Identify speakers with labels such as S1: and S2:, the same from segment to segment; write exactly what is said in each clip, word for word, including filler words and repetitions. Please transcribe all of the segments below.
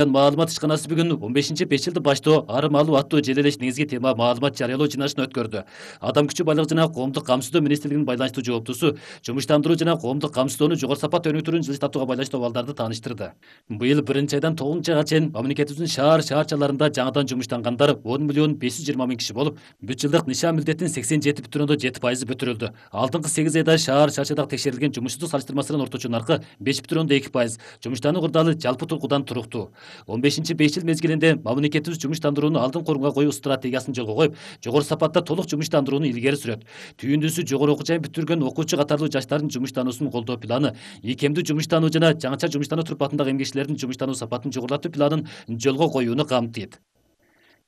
S1: Маалымат ишканасы бүгүн он бешинчи беш жылды баштоо ары малуу аттуу желелеш негизги тема маалымат жарыялоо жыйналышын өткөрдү. Адам күчү байлыгы жана коомдук камсыздоо министрлигинин байланыштуу жооптусу жумуштандыруу жана коомдук камсыздоону жогору сапат өнүктүрүүнү жылыстатууга байланыштуу абалдарды тааныштырды. Быйыл биринчи айдан тогузунчу айга чейин мамлекетибиздин шаар шаарчаларында жаңыдан жумуштангандар он миллион беш жүз жыйырма миң киши болуп, бүт жылдык нишан милдеттин сексен жети бүтүн ондон жети пайызы бүтүрүлдү. Алдыңкы сегиз айда шаар шаарчадагы текшерилген жумушсуздук салыштырмасынын орточо наркы беш бүтүн ондон эки пайыз, жумуштануу кырдаалы жалпы тургудан туруктуу. он бешинчи беш жыл мезгилинде мамлекетибиз жумуштандырууну алдыңкы орунга коюу стратегиясын жолго коюп, жогору сапатта толук жумуштандырууну илгери сүрөт. Түйүндүсү жогору окуу жайын бүтүргөн окуучу катарлуу жаштардын жумуштануусун колдоо планы, ийкемдүү жумуштануу жана жаңыча жумуштануу турпатындагы эмгекчилердин жумуштануу сапатын жогорулатуу планын жолго коюуну камтыйт.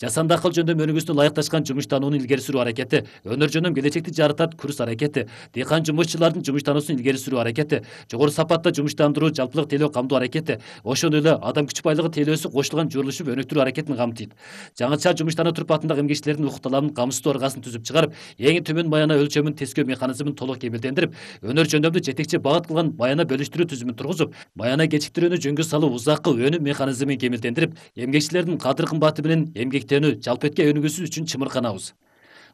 S1: Жасанды акыл жөндөм өнүгүүсүнө ылайыкташкан жумуштанууну илгери сүрүү аракети, өнөр жөндөм келечекти жаратат курс аракети, дыйкан жумушчулардын жумуштануусун илгери сүрүү аракети, жогору сапатта жумуштандыруу жалпылык тейлөө камдоо аракети, ошондой эле адам күч байлыгы тейлөөсү кошулган журулушу өнүктүрүү аракетин камтыйт. Жаңыча жумуштануу турпатындагы эмгекчилердин укук талабын камсыздоо ыргасын түзүп чыгарып, эң төмөн маяна өлчөмүн тескөө механизмин толук кемелдендирип, өнөр жөндөмдү жетекчи багыт кылган маяна бөлүштүрүү түзүмүн тургузуп, маяна кечиктирүүнү жөнгө салуу узаккы өнүм механизмин кемелдендирип, эмгекчилердин кадыр кымбаты менен эмгектенүү жалпы этке өнүгүүсү үчүн чымырканабыз.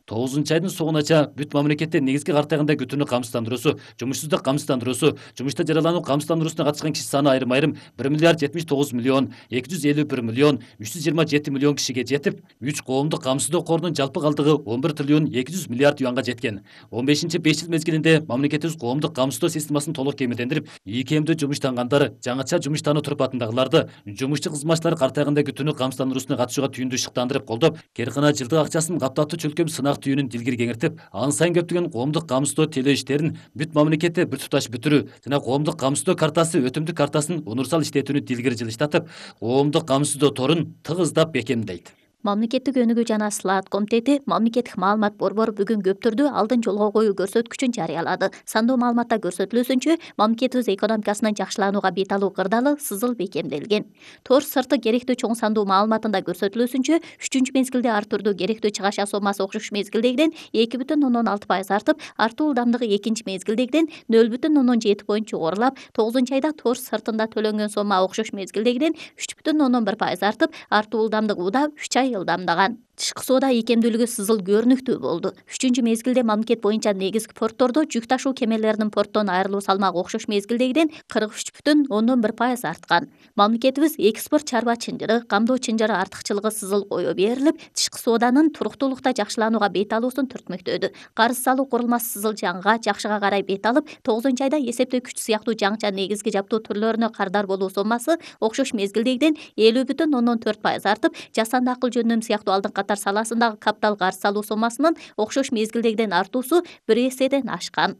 S1: тогузунчу айдын соңунача бүт мамлекетте негизги картайганда күтүүнү камсыздандыруусу, жумушсуздук камсыздандыруусу, жумушта жаралануу камсыздандыруусуна катышкан киши саны айрым айрым бир миллиард жетимиш тогуз миллион эки жүз элүү бир миллион үч жүз жыйырма жети миллион кишиге жетип, үч коомдук камсыздоо корунун жалпы калдыгы он бир триллион эки жүз миллиард юанга жеткен. он бешинчи беш жыл мезгилинде мамлекетибиз коомдук камсыздоо системасын толук кемелдендирип, ийкемдүү жумуштангандар, жаңыча жумуштануу турпатындагыларды, жумушчу кызматчылар картайганда күтүүнү камсыздандыруусуна катышууга түйүндүү шыктандырып колдоп, керкана жылдык акчасын каптаттуу чөлкөм сынак түйүнүн дилгири кеңиртип, ан сайын көптөгөн коомдук камсыздоо тейлөө иштерин бүт мамлекетте бир туташ бүтүрүү жана коомдук камсыздоо картасы өтүмдүк картасын универсал иштетүүнү дилгири жылыштатып, коомдук камсыздоо торун тыгыздап бекемдейт.
S2: Мамлекеттик өнүгүү жана слаат комитети мамлекеттик маалымат борбору бүгүн көптөрдү алдын жолго коюу көрсөткүчүн жарыялады. Сандуу маалыматта көрсөтүлүүсүнчө, мамлекетибиз экономикасынын жакшыланууга бет алуу кырдаалы сызыл бекемделген. Тор сырты керектүү чоң сандуу маалыматында көрсөтүлүүсүнчө, үчүнчү мезгилде ар түрдүү керектүү чыгаша сомасы окшош мезгилдегиден эки бүтүн ондон алты пайыз артып, артуу ылдамдыгы экинчи мезгилдегиден нөл бүтүн ондон жети поинт жогорулап, тогузунчу айда тор сыртында төлөнгөн сома окшош мезгилдегиден үч бүтүн ондон бир пайыз артып, артуу ылдамдыгы уда үч ай ылдамдаган. Тышкы соода ийкемдүүлүгү сызыл көрүнүктүү болду. үчүнчү мезгилде мамлекет боюнча негизги порттордо жүк ташуу кемелеринин порттон айрылуу салмагы окшош мезгилдегиден кырк үч бүтүн ондон бир пайыз арткан. Мамлекетибиз экспорт чарба чынжыры, камдоо чынжыры артыкчылыгы сызыл кое берилип, тышкы сооданын туруктуулукта жакшыланууга бет алуусун түртмөктөдү. Карыз салуу курулмасы сызыл жаңга, жакшыга карай бет алып, тогузунчу айда эсептөө күч сыяктуу жаңча негизги жаптуу түрлөрүнө кардар болуу сомасы окшош мезгилдегиден элүү бүтүн ондон төрт пайыз артып, жасанды акыл жөндөм сыяктуу алдыңкы катар саласындагы капитал карыз салуу сомасынын окшош мезгилдегиден артуусу бир эседен ашкан.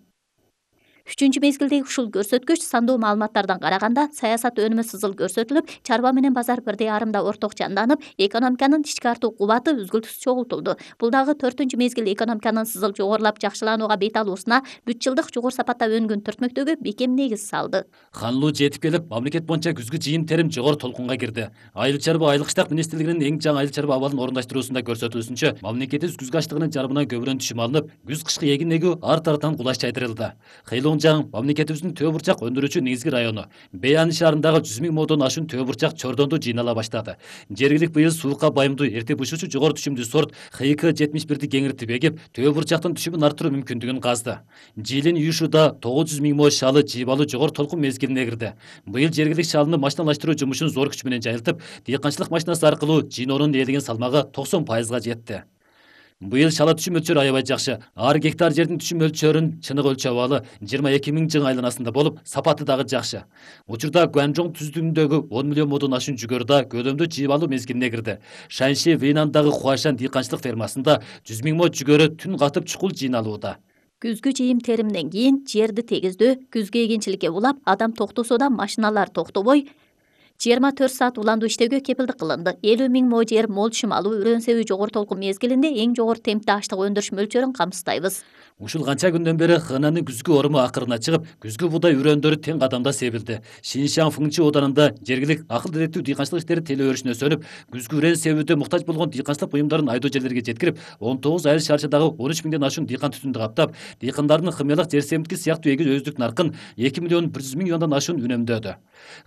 S2: Үчүнчү мезгилдеги ушул көрсөткүч сандуу маалыматтардан караганда саясат өнүмү сызыл көрсөтүлүп, чарба менен базар бирдей арымда орток жанданып, экономиканын ички артуу кубаты үзгүлтүсүз чогултулду. Бул дагы төртүнчү мезгил экономиканын сызыл жогорулап жакшыланууга бет алуусуна, бүт жылдык жогору сапаттаөнгөн түртмөктөгү бекем негиз салды.
S1: Ханлуу жетип келип, мамлекет боюнча күзгү жыйын терим жогору толкунга кирди. Айыл чарба айыл кыштак министрлигинин эң жаңы айыл чарба абалын орундаштыруусунда көрсөтүлүүсүнчө, мамлекетибиз күзгү аштыгынын жарымынан көбүнөн түшүм алынып, күз кышкы эгин эгүү ар тараптан кулаш жайдырылды. Кыйлуңжаң мамлекетибиздин төө бурчак өндүрүүчү негизги району. Бейан шаарындагы жүз миң модон ашуун төө бурчак чордондо жыйнала баштады. Жергилик быйыл суукка байымдуу эрте бушуучу жогору түшүмдүү сорт Х К жетимиш бирди кеңиртип эгип, төө бурчактын түшүмүн арттыруу мүмкүндүгүн казды. Жилин Юшуда тогуз жүз миң мо шалы жыйбалуу жогору толкун мезгилине кирди. Быйыл жергилик шалыны машиналаштыруу жумушун зор күч менен жайылтып, дыйканчылык машинасы аркылуу жыйноонун ээлеген салмагы токсон пайызга жетти. Быйыл шала түшүм өлчөрү аябай жакшы. Ар гектар жердин түшүм өлчөрүн чынык өлчөп абалы жыйырма эки миң жың айланасында болуп, сапаты дагы жакшы. Учурда Гуанчжоң түздүгүндөгү он миллион модон ашуун жүгөрү көлөмдүү жыйбалуу мезгилине кирди. Шанши Вейнандагы Хуашан дыйканчылык фермасында жүз миң мо жүгөрү түн катып чукул жыйналууда.
S2: Күзгү жыйым теримден кийин жерди тегиздөө, күзгү эгинчиликке улап, адам токтосо да машиналар токтобой жыйырма төрт саат уландуу иштөөгө кепилдик кылынды. элүү миң мо жер мол түшүм алуу, үрөөн себүү жогору толкун мезгилинде эң жогору темпте аштык өндүрүш мөлчөрүн камсыздайбыз.
S1: Ушул канча күндөн бери Хэнанын күзгү оруму акырына чыгып, күзгү буудай үрөндөрү тең кадамда себилди. Шиншан Фыңчы оданында жергилик акыл деректүү дыйканчылык иштери теле өрүшүнө сөнүп, күзгү үрен себүүдө муктаж болгон дыйканчылык буюмдарын айдоо жерлерге жеткирип, он тогуз айыл шарчадагы он үч миңден ашуун дыйкан түтүндү каптап, дыйкандардын хымиялык жер семиткич сыяктуу эгиз өздүк наркын эки миллион бир жүз миң юандан ашуун үнөмдөөдү.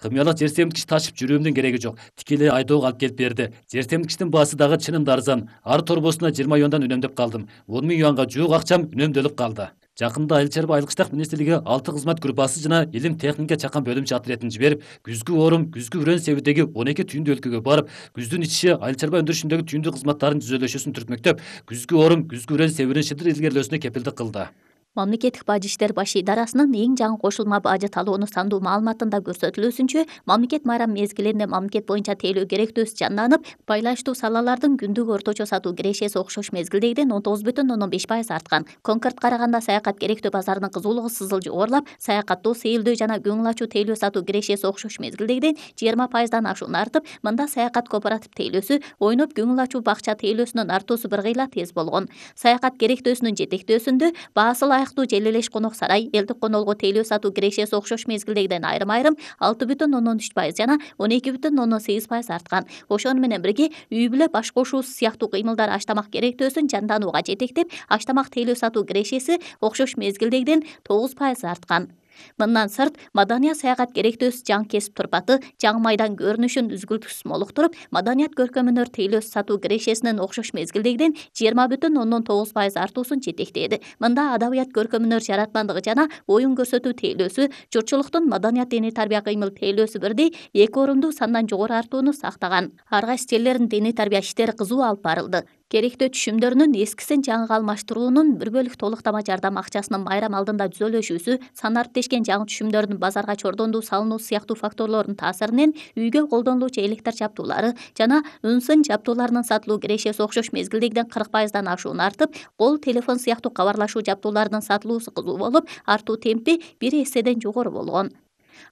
S1: Хымиялык жер семиткич ташып жүрүүмдүн кереги жок. Тикелей айдоого алып келип берди. Жер семиткичтин баасы дагы чынында арзан. Ар торбосуна жыйырма юандан үнөмдөп калдым. он миң юанга жуук акчам үнөмдөлүп калды. Жакында Айыл чарба айыл кыштак министрлиги алты кызмат группасы жана илим техника чакан бөлүмчө отрядын жиберип, күзгү орум, күзгү үрөн себүүдөгү он эки түйүндүү өлкөгө барып, күздүн ичиши айыл чарба өндүрүшүндөгү түйүндүү кызматтардын түзөлүшүсүн түртмөктөп, күзгү орум, күзгү үрөн себүүнүн шыдыр илгерилөөсүнө кепилдик кылды.
S2: Мамлекеттик бажы иштер баш идарасынын эң жаңы кошулма бажы талоонун сандуу маалыматында көрсөтүлүүсүнчө, мамлекет майрам мезгилинде мамлекет боюнча тейлөө керектөөсү жанданып, байланыштуу салалардын күндүк орточо сатуу кирешеси окшош мезгилдегиден он тогуз бүтүн ондон беш пайыз арткан. Конкорд караганда саякат керектөө базарынын кызуулугу сызыл жогорулап, саякаттоо, сейилдөө жана көңүл ачуу тейлөө сатуу кирешеси окшош мезгилдегиден жыйырма пайыздан ашуун артып, мында саякат кооператив тейлөөсү, ойноп көңүл ачуу бакча тейлөөсүнүн артуусу бир кыйла тез болгон. Саякат керектөөсүнүн жетектөөсүндө баасы аяктуу Желелеш конок сарай, элдик конолго тейлөө сатуу кирешеси окшош мезгилдегиден айрым-айрым алты бүтүн ондон үч пайыз жана он эки бүтүн ондон сегиз пайыз арткан. Ошону менен бирге үй бүлө баш кошуусу сыяктуу кыймылдар аштамак керектөөсүн жанданууга жетектеп, аштамак тейлөө сатуу кирешеси окшош мезгилдегиден тогуз пайыз арткан. Мындан сырт, маданият саякат керектөөсү жаңы кесип турпаты, жаңы майдан көрүнүшүн үзгүлтүксүз молуктуруп, маданият көркөмүнөр тейлөө сатуу кирешесинин окшош мезгилдегиден жыйырма бүтүн ондон тогуз пайыз артуусун жетектеди. Мында адабият көркөмүнөр жаратмандыгы жана оюн көрсөтүү тейлөөсү, журтчулуктун маданият диний тарбия кыймыл тейлөөсү бирдей эки орунду сандан жогору артууну сактаган. Ар кайсы жерлердин диний тарбия иштери кызуу алып барылды. Керектөө түшүмдөрүнүн эскисин жаңыга алмаштыруунун бир бөлүк толуктама жардам акчасынын майрам алдында түзөлүшүүсү, сан арттешкен жаңы түшүмдөрдүн базарга чордондуу салынуу сыяктуу факторлордун таасиринен үйгө колдонулуучу электр жабдуулары жана үн-сын жабдууларынын сатылуу кирешеси окшош мезгилдегиден кырк пайыздан ашуун артып, кол телефон сыяктуу кабарлашуу жабдууларынын сатылуусу кызуу болуп, артуу темпи бир эседен жогору болгон.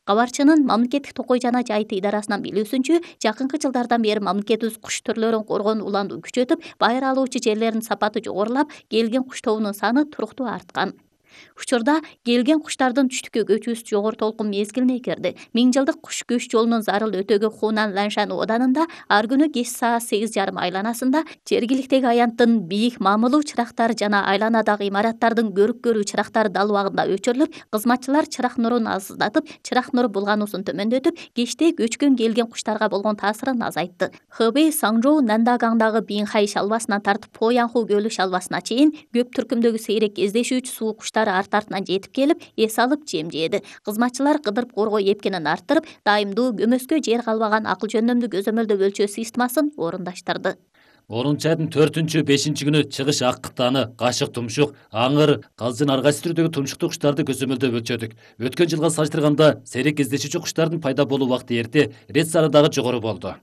S2: Кабарчынын мамлекеттик токой жана жайыт идарасынан билүүсүнчө, жакынкы жылдардан бери мамлекетибиз куш түрлөрүн коргонуу уланду күчөтүп, байыр алуучу жерлердин сапаты жогорулап, келген куш тобунун саны туруктуу арткан. Учурда келген куштардын түштүккө көчүүсү жогору толкун мезгилине кирди. Миң жылдык куш көч жолунун зарыл өтөгү Хунан Ланшан оданында ар күнү кеч саат сегиз жарым айланасында жергиликтеги аянттын бийик мамылуу чырактары жана айланадагы имараттардын көрүк көрүү чырактары дал убагында өчүрүлүп, кызматчылар чырак нурун азыздатып, чырак нуру булгануусун төмөндөтүп, кечте көчкөн келген куштарга болгон таасирин азайтты. Хэбэй Саңжоу Нандагаңдагы Бинхай шалбасынан тартып Поянху көлү шалбасына чейин көп түркүмдөгү сейрек кездешүүчү суу куштары арт-артынан жетип келип, эс алып жем жээди. Кызматчылар кыдырып коргоо эпкенин арттырып, дайымдуу көмөскө жер калбаган акыл жөндөмдүү көзөмөлдөө өлчөө системасын орундаштырды.
S1: орунчу айдын төртүнчү бешинчи күнү чыгыш ак кытаны, кашык тумшук, аңыр, калжын ар кайсы түрдөгү тумшуктуу куштарды көзөмөлдөп өлчөдүк. Өткөн жылга салыштырганда сейрек кездешүүчү куштардын пайда болуу убакыты эрте, рет саны дагы жогору болду.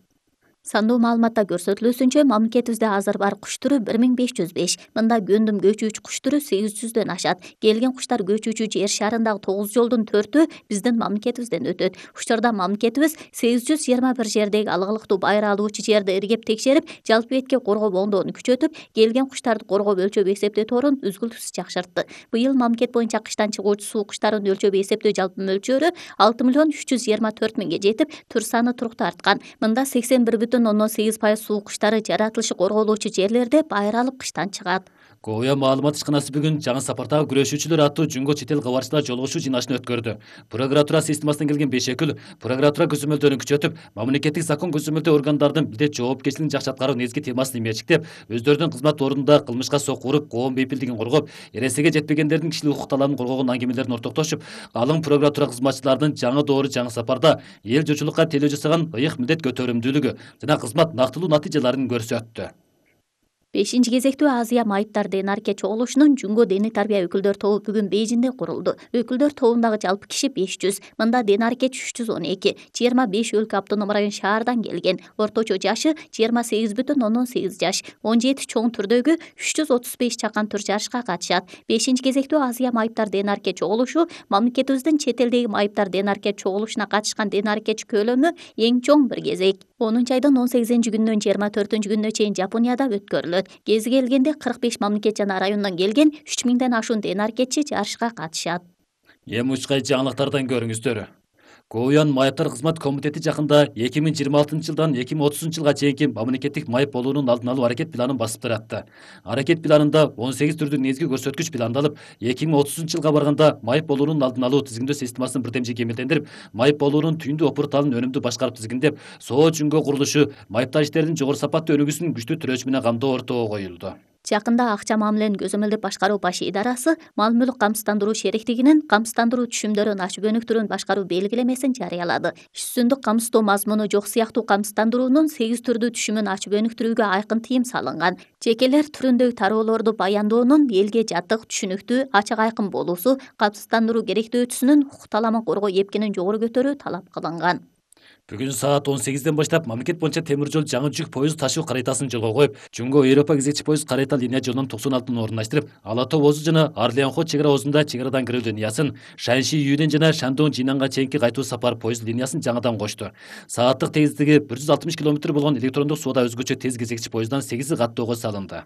S2: Сандуу маалыматта көрсөтүлүүсүнчө, мамлекетибизде азыр бар куш түрү бир миң беш жүз беш. Мында гөндүм көчүүчү куш түрү сегиз жүздөн ашат. Келген куштар көчүүчү жер шарындагы тогуз жолдун төртү биздин мамлекетибизден өтөт. Учурда мамлекетибиз сегиз жүз жыйырма бир жердеги алгылыктуу байыр алуучу жерди иргеп текшерип, жалпы бетке коргоо моңдоону күчөтүп, келген куштарды коргоп өлчөп эсептөө торун үзгүлтүксүз жакшыртты. Быйыл мамлекет боюнча кыштан чыгуучу суу куштарын өлчөп эсептөө жалпы мөлчөрү алты миллион үч жүз жыйырма төрт миңге жетип, түр саны туруктуу арткан. Мында сексен бир бүтүн ондон сегиз пайыз суу куштары жаратылышы корголуучу жерлерде байыр алып кыштан чыгат.
S1: Коя маалымат ишканасы бүгүн жаңы сапардагы күрөшүүчүлөр аттуу жунго чет эл кабарчылар жолугушуу жыйналышын өткөрдү. Прокуратура системасынан келген беш өкүл прокуратура көзөмөлдөрүн күчөтүп, мамлекеттик закон көзөмөлдөө органдардын милдет жоопкерчилигин жакшы аткаруу негизги темасын эмечиктеп, өздөрүнүн кызмат ордунда кылмышка сокку уруп, коом бейпилдигин коргоп, эресиге жетпегендердин кишилик укук талабын коргогон аңгемелерин ортоктошуп, алың прокуратура кызматчыларынын жаңы доору жаңы сапарда эл журтчулукка тейлөө жасаган ыйык милдет көтөрүмдүүлүгү жана кызмат нактылуу натыйжаларын көрсөттү.
S2: бешинчи кезектүү Азия майыптар ДНРК чогулушунун Жунго диний тарбия өкүлдөр тобу бүгүн Бейжинде курулду. Өкүлдөр тобундагы жалпы киши беш жүз. Мында ДНРК үч жүз он эки, жыйырма беш өлкө автоном район шаардан келген. Орточо жашы жыйырма сегиз бүтүн ондон сегиз жаш. он жети чоң түрдөгү үч жүз отуз беш чакан түр жарышка катышат. бешинчи кезектүү Азия майыптар ДНРК чогулушу мамлекетибиздин чет элдеги майыптар ДНРК чогулушуна катышкан ДНРКчи көлөмү эң чоң бир кезек. онунчу айдын он сегизинчи күнүнөн жыйырма төртүнчү күнүнө чейин Жапонияда өткөрүлөт. өткөрүлөт. Кези келгенде кырк беш мамлекет жана райондон келген үч миңден ашуун тенаркетчи жарышка катышат.
S1: Эми учкай жаңылыктардан көрүңүздөр. Коуян майыптар кызмат комитети жакында эки миң жыйырма алтынчы жылдан эки миң отузунчу жылга чейинки мамлекеттик майып болуунун алдын алуу аракет планын басып таратты. Аракет планында он сегиз түрдүү негизги көрсөткүч пландалып, эки миң отузунчу жылга барганда майып болуунун алдын алуу тизимдөө системасын бирдемчи кемелдендирип, майып болуунун түйүндүү опурталын өнүмдүү башкарып тизгиндеп, соо жүнгө курулушу, майыптар иштеринин жогору сапаттуу өнүгүүсүн күчтүү төрөчү менен камдоо ортого коюлду.
S2: Жакында акча мамиленин көзөмөлдүп башкаруу баш идарасы мал мүлк камсыздандыруу шериктигинин камсыздандыруу түшүмдөрүн ачып өнүктүрүүнү башкаруу белгилемесин жарыялады. Иш жүзүндө камсыздоо мазмуну жок сыяктуу камсыздандыруунун сегиз түрдүү түшүмүн ачып өнүктүрүүгө айкын тыйым салынган. Жекелер түрүндөгү тароолорду баяндоонун элге жаттык, түшүнүктүү, ачык айкын болуусу, камсыздандыруу керектөөчүсүнүн укук таламын коргоо эпкинин жогору көтөрүү талап кылынган.
S1: Бүгүн саат он сегизден баштап мамлекет боюнча темир жол жаңы жүк поезд ташуу карайтасын жолго коюп, Жумго Европа кезекчи поезд карайта линия жолунун токсон алтын орундаштырып, Ала Тоо Озу жана Арлианхо чек ара озунда чек арадан кирүү линиясын, Шаньши Юден жана Шандон Жинанга чейинки кайтуу сапар поезд линиясын жаңыдан кошту. Сааттык тезиздиги бир жүз алтымыш километр болгон электрондук соода өзгөчө тез кезекчи поезддан сегизи каттоого салынды.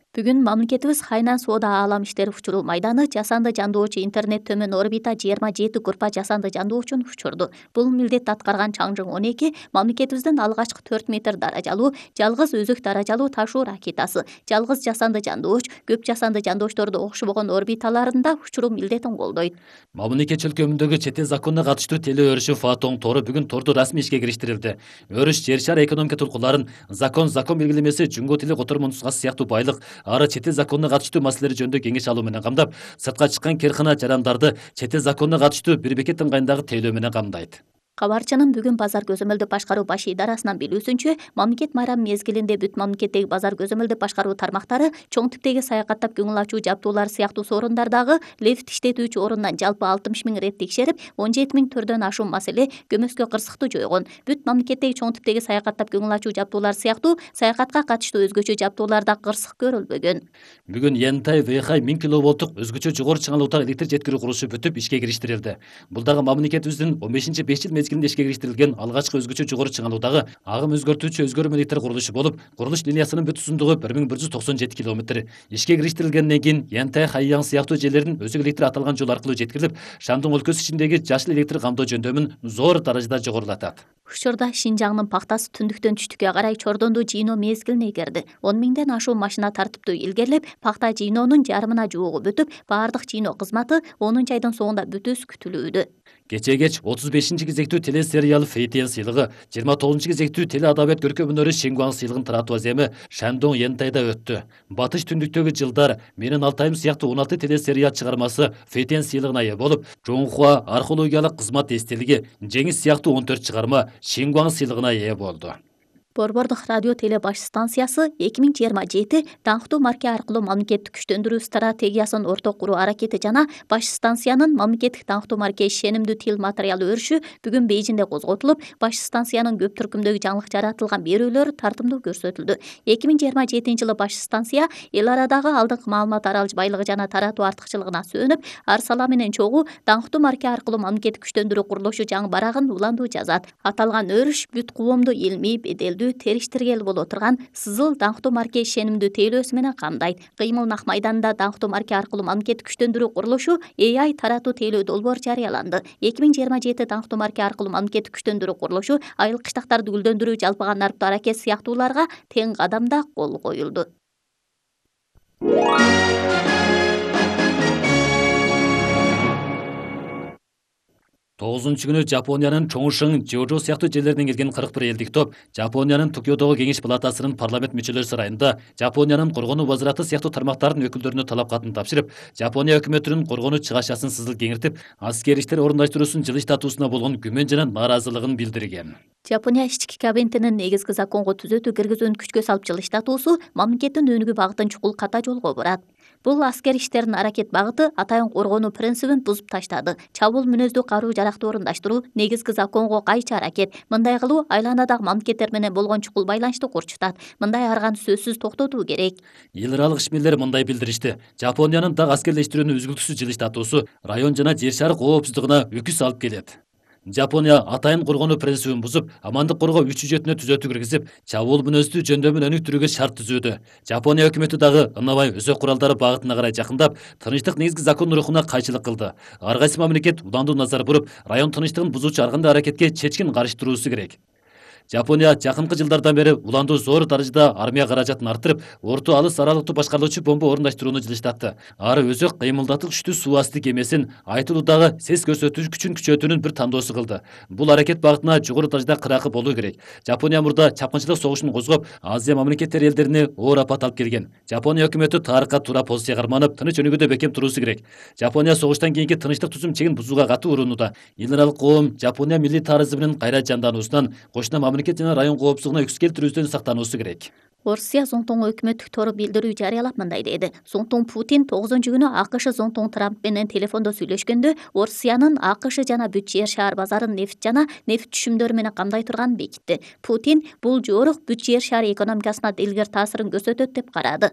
S2: Бүгүн мамлекетибиз Хайнан соода аалам иштери учуруу майданы жасанды жандоочу интернет төмөн орбита жыйырма жети группа жасанды жандоочун учурду. Бул милдетти аткарган Чаңжың он эки мамлекетибиздин алгачкы төрт метр даражалуу, жалгыз өзөк даражалуу ташуу ракетасы. Жалгыз жасанды жандооч көп жасанды жандоочторду окшобогон орбиталарында учуруу милдетин колдойт.
S1: Мамлекет чөлкөмүндөгү чет эл законуна катыштуу теле өрүшү Фаатоң тору бүгүн торду расмий ишке кириштирилди. Өрүш жер шары экономика толкуларын, закон, закон белгилемеси, жүнгө тили котормо нускасы сыяктуу байлык, ары чет эл законуна катыштуу маселелер жөнүндө кеңеш алуу менен камдап, сыртка чыккан керкана жарандарды чет эл законуна катыштуу бир бекет ыңгайындагы тейлөө менен камдайт.
S2: Кабарчынын бүгүн базар көзөмөлдүп башкаруу баш идарасынан билүүсүнчө, мамлекет майрамы мезгилинде бүт мамлекеттеги базар көзөмөлдүп башкаруу тармактары чоң типтеги саякаттап көңүл ачуу жабдуулар сыяктуу соорундардагы лифт иштетүүчү орундан жалпы алтымыш миң рет текшерип, он жети миң түрдөн ашуун маселе, көмөскө кырсыктуу жойгон. Бүт мамлекеттеги чоң типтеги саякаттап көңүл ачуу жабдуулар сыяктуу саякатка катыштуу өзгөчө жабдууларда кырсык көрүлбөгөн.
S1: Бүгүн Янтай Вэйхай миң киловолттук өзгөчө жогору чыңалуудагы электр жеткирүү курулушу бүтүп ишке кириштирилди. Бул дагы мамлекетибиздин он бешинчи беш жыл мезгилинде ишке кириштирилген алгачкы өзгөчө жогору чыңалуудагы агым өзгөртүүчү өзгөрмө электр курулушу болуп, курулуш линиясынын бүт узундугу бир миң бир жүз токсон жети километр. Ишке кириштирилгенден кийин Янтай Хайяң сыяктуу жерлердин өзөк электр аталган жол аркылуу жеткирилип, Шандон өлкөсү ичиндеги жашыл электр камдоо жөндөмүн зор даражада жогорулатат.
S2: Учурда Шинжаңдын пактасы түндүктөн түштүккө карай чордондуу жыйноо мезгилине кирди. он миңден ашуун машина тартиптүү илгерилеп, пакта жыйноонун жарымына жуугу бүтүп, баардык жыйноо кызматы онунчу айдын соңунда бүтүүсү күтүлүүдө.
S1: Кечээ кеч отуз бешинчи кезектүү телесериал Фейтен сыйлыгы, жыйырма тогузунчу кезектүү теле адабият көркөм өнөрү Шингуаң сыйлыгын таратуу аземи Шандон Янтайда өттү. Батыш түндүктөгү жылдар Менин Алтайым сыяктуу он алты телесериал чыгармасы Фейтен сыйлыгына ээ болуп, Жоңхуа археологиялык кызмат эстелиги, Жеңиз сыяктуу он төрт чыгарма Шингуаң сыйлыгына ээ болду.
S2: Борбордук радио теле баш станциясы эки миң жыйырма жети даңктуу марка аркылуу мамлекеттик күчтөндүрүү стратегиясын орток куруу аракети жана баш станциянын мамлекеттик даңктуу марка ишенимдүү тил материалы өрүшү бүгүн Бейжиңде козготулуп, баш станциянын көп түркүмдөгү жаңылык жаратылган берүүлөр тартымдуу көрсөтүлдү. эки миң жыйырма жетинчи жылы баш станция эл арадагы алдыңкы маалымат аралык байлыгы жана таратуу артыкчылыгына сөөнүп, ар сала менен чогуу даңктуу марка аркылуу мамлекеттик күчтөндүрүү курулушу жаңы барагын уландуу жазат. Аталган өрүш бүт коомду илмий, беделдүү, териштиргел боло турган сызыл даңктуу марка ишенимдүү тейлөөсү менен камдайт. Кыймыл нак майданында даңктуу марка аркылуу мамлекеттик күчтөндүрүү курулушу A I таратуу тейлөө долбоор жарыяланды. эки миң жыйырма жети даңктуу марка аркылуу мамлекеттик күчтөндүрүү курулушу айыл кыштактарды гүлдөндүрүү, жалпыга нарптуу аракет сыяктууларга тең кадамда кол коюлду.
S1: тогузунчу күнү Жапониянын Чоңшың, Жожо сыяктуу жерлеринен келген кырк бир элдик топ Жапониянын Токиодогу кеңеш палатасынын парламент мүчөлөр сарайында Жапониянын коргонуу вазираты сыяктуу тармактардын өкүлдөрүнө талап катын тапшырып, Жапония өкмөтүнүн коргонуу чыгашасын сызыл кеңиртип, аскер иштер орундаштыруусун жылыштатуусуна болгон күмөн жана нааразылыгын билдирген.
S2: Жапония ички кабинетинин негизги законго түзөтүү киргизүүнү күчкө салып жылыштатуусу мамлекеттин өнүгүү багытын чукул ката жолго бурат. Бул аскер иштеринин аракет багыты атайын коргонуу принцибин бузуп таштады. Чабуул мүнөздүү каруу жаракты орундаштыруу, негизги законго кайчы аракет. Мындай кылуу айланадагы мамлекеттер менен болгон чукул байланышты курчутат. Мындай арганы сөзсүз токтотуу керек.
S1: Эл аралык ишмерлер мындай билдиришти. Жапониянын так аскерлештирүүнү үзгүлтүксүз жылыштатуусу район жана жер шары коопсуздугуна үкүс алып келет. Жапония атайын коргонуу принцибин бузуп, амандык коргоо үч жүзөтүнө түзөтүү киргизип, чабуул мүнөздүү жөндөмүн өнүктүрүүгө шарт түзүүдө. Жапония өкмөтү дагы ынабай өзөк куралдары багытына карай жакындап, тынычтык негизги закон рухуна кайчылык кылды. Ар кайсы мамлекет уландуу назар буруп, район тынычтыгын бузуучу ар кандай аракетке чечкин каршы туруусу керек. Жапония жакынкы жылдардан бери уландуу зор даражада армия каражатын арттырып, орто алыс аралыктуу башкарылуучу бомба орундаштырууну жылыштатты. Ары өзөк кыймылдатуу күчтүү суу асты кемесин айтылуудагы сес көрсөтүү күчүн күчөтүүнүн бир тандоосу кылды. Бул аракет багытына жогору даражада кыракы болуу керек. Жапония мурда чапкынчылык согушун козгоп, Азия мамлекеттери элдерине оор апат алып келген. Жапония өкмөтү тарыхка туура позиция карманып, тыныч өнүгүүдө бекем туруусу керек. Жапония согуштан кийинки тынычтык түзүм чегин бузууга катуу урунууда. Эл аралык коом Жапония милли тарызымынын кайра жандануусунан, кошуна мамлекет жана район коопсуздугуна үкс келтирүүсүнөн сактануусу керек.
S2: Орусия зонтоңу өкмөттүк тору билдирүү жарыялап мындай деди. Зонтоң Путин тогузунчу күнү АКШ зонтоң Трамп менен телефондо сүйлөшкөндө Орусиянын АКШ жана бүт жер шаар базарын нефть жана нефть түшүмдөрү менен камдай турганын бекитти. Путин бул жорук бүт жер шаар экономикасына дилгер таасирин көрсөтөт деп карады.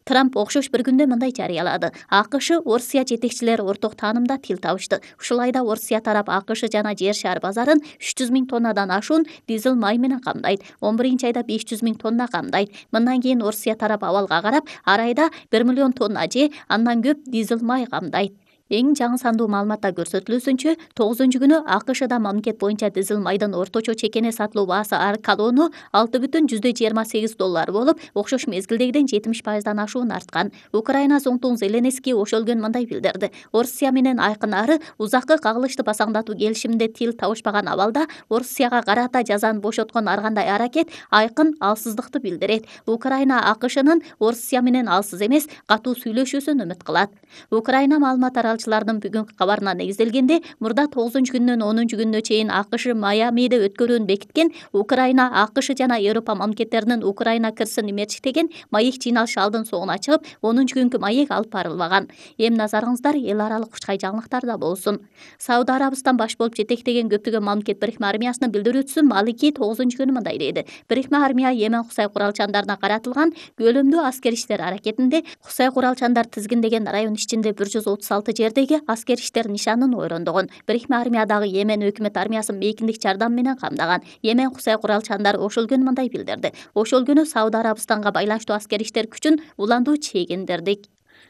S2: Трамп окшош бир күндө мындай жарыялады. АКШ Орусия жетекчилери орток таанымда тил табышты. Ушул айда Орусия тарап АКШ жана жер шаар базарын үч жүз миң тоннадан ашуун дизель май менен камдайт. он биринчи айда беш жүз миң тонна камдайт. Мындан кийин Орусия тарап абалга карап, ар айда бир миллион тонна же андан көп дизель май камдайт. Эң жаңы сандуу маалыматта көрсөтүлүүсүнчө, тогузунчу күнү АКШда мамлекет боюнча дизель майдын орточо чекене сатылуу баасы ар калону алты бүтүн жүздө жыйырма сегиз доллар болуп, окшош мезгилдегиден жетимиш пайыздан ашуун арткан. Украина зонтоң Зеленский ошол күнү мындай билдирди. Орусия менен айкын ары узаккы кагылышты басаңдатуу келишиминде тил табышпаган абалда Орусияга карата жазаны бошоткон ар кандай аракет айкын алсыздыкты билдирет. Украина АКШнын Орусия менен алсыз эмес, катуу сүйлөшүүсүн үмүт кылат. Украина маалымат таралчылардын бүгүнкү кабарына негизделгенде, мурда тогузунчу күндөн онунчу күнүнө чейин АКШ Майамиде өткөрүүнү бекиткен Украина, АКШ жана Европа мамлекеттеринин Украина кырсын имерчиктеген маек жыйналышы алдын соңуна чыгып, онунчу күнкү маек алып барылбаган. Эми назарыңыздар эл аралык кучкай жаңылыктарда болсун. Сауд Арабистан баш болуп жетектеген көптөгөн мамлекет бирикме армиясынын билдирүүчүсү Малики тогузунчу күнү мындай деди. Бирикме армия Йемен Кусай куралчандарына каратылган көлөмдүү аскер иштер аракетинде Кусай куралчандар тизгиндеген район ичинде бир жүз отуз алты жердеги аскер иштер нишанын ойрондогон. Бирикме армиядагы Йемен өкмөт армиясын мейкиндик жардам менен камдаган. Йемен Кусай куралчандары ошол күнү мындай билдирди. Ошол күнү Сауд Арабистанга байланыштуу аскер иштер күчүн уландуу чегиндирдик.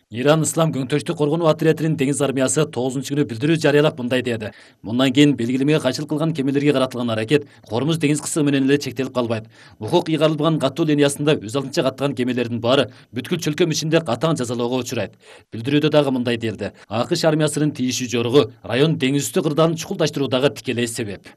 S1: Иран Ислам көңтөштүк коргонуу отрядынын деңиз армиясы тогузунчу күнү билдирүү жарыялап мындай деди. Мындан кийин белгилемеге кайчылык кылган кемелерге каратылган аракет Кормуз деңиз кысымы менен эле чектелип калбайт. Укук ыйгарылган каттоо линиясында өз алдынча каттаган кемелердин баары бүткүл чөлкөм ичинде катаң жазалоого учурайт. Билдирүүдө дагы мындай делди. АКШ армиясынын тийишүү жоругу район деңиз үстү кырдаалын чукулдаштыруудагы тикелей себеп.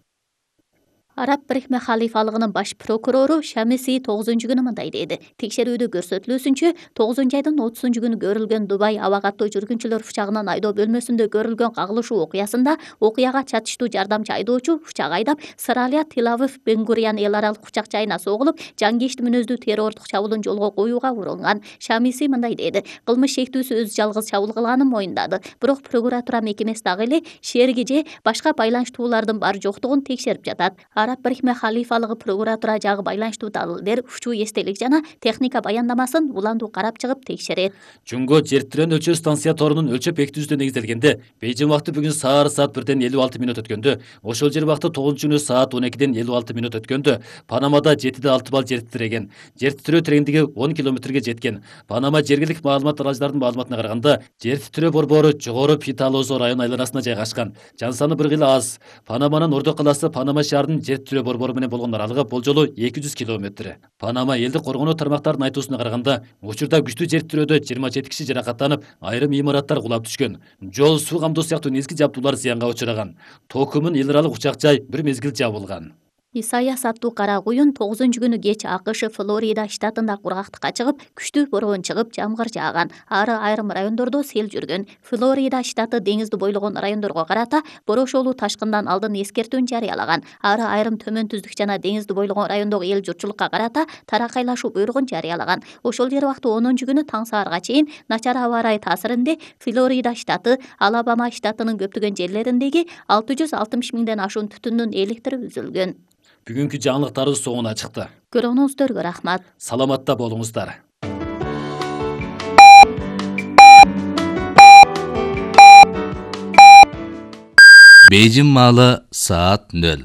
S2: Араб Бирикме халифалыгынын баш прокурору Шамиси тогузунчу күнү мындай деди. Текшерүүдө көрсөтүлүүсүнчө, тогузунчу айдын отузунчу күнү көрүлгөн Дубай аба каттоо жүргүнчүлөр учагынын айдоо бөлмөсүндө көрүлгөн кагылышуу окуясында окуяга чатыштуу жардамчы айдоочу учак айдап, Сыралия Тил-Авив Бен-Гурион эл аралык учак жайына согулуп, жангечти мүнөздүү террордук чабуулун жолго коюуга урунган. Шамиси мындай деди. Кылмыш шектүүсү өз жалгыз чабуул кылганын моюндады. Бирок прокуратура мекемеси дагы эле шерги же башка байланыштуулардын бар жоктугун текшерип жатат. Араб Бирикме халифалыгы прокуратура жагы байланыштуу далилдер, учуу эстелик жана техника баяндамасын уландуу карап чыгып текшерет.
S1: Жунго жер тирен өлчөө станция торунун өлчөп бекитүүсүнө негизделгенде, Бейжин убакыты бүгүн саар саат бирден элүү алты мүнөт өткөндө, ошол жер убакыты тогузунчу күнү саат он экиден элүү алты мүнөт өткөндө Панамада жетиде алты балл жер титиреген. Жер титирөө тереңдиги он километрге жеткен. Панама жергиликтик маалымат таралгычылардын маалыматына караганда, жер титирөө борбору жогору Питалозо район айланасына жайгашкан. Жан саны бир кыйла аз. Панаманын ордо калаасы Панама шаарынын жер титирөө борбору менен болгон аралыгы болжолу эки жүз километр. Панама элдик коргонуу тармактарынын айтуусуна караганда, учурда күчтүү жер титирөөдө жыйырма жети киши жаракаттанып, айрым имараттар кулап түшкөн. Жол, суу камдоо сыяктуу негизги жабдуулар зыянга учураган. Токумун эл аралык учак жай бир мезгил жабылган.
S2: Исайяс аттуу кара куюн тогузунчу күнү кеч АКШ Флорида штатында кургактыкка чыгып, күчтүү бороон чыгып, жамгыр жааган. Ары айрым райондордо сел жүргөн. Флорида штаты деңизди бойлогон райондорго карата борошолуу ташкындан алдын эскертүүнү жарыялаган. Ары айрым төмөн түздүк жана деңизди бойлогон райондогу эл журтчулукка карата таракайлашуу буйругун жарыялаган. Ошол жер убакты онунчу күнү таң саарга чейин начар аба ырайы таасиринде Флорида штаты, Алабама штатынын көптөгөн жерлериндеги алты жүз алтымыш миңден ашуун түтүндүн электри үзүлгөн.
S1: Бүгүнкү жаңылыктарыбыз соңуна чыкты.
S2: Көргөнүңүздөргө рахмат.
S1: Саламатта болуңуздар.
S3: Бейжин маалы саат нөл.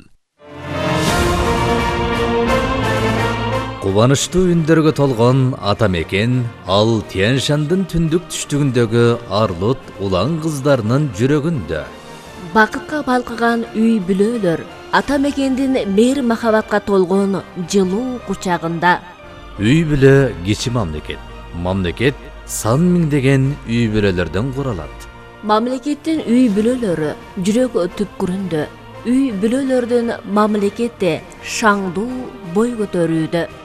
S3: Кубанычтуу үндөргө толгон ата мекен ал Тянь-Шандын түндүк түштүгүндөгү Арлут улан кыздарынын жүрөгүндө.
S4: Бакытка балкыган үй бүлөлөр ата мекендин мейир махабатка толгон жылуу кучагында.
S3: Үй бүлө кичи мамлекет. Мамлекет сан миңдеген үй бүлөлөрдөн куралат.
S4: Мамлекеттин үй бүлөлөрү жүрөк түпкүрүндө. Үй бүлөлөрдүн мамлекетте шаңдуу бой көтөрүүдө.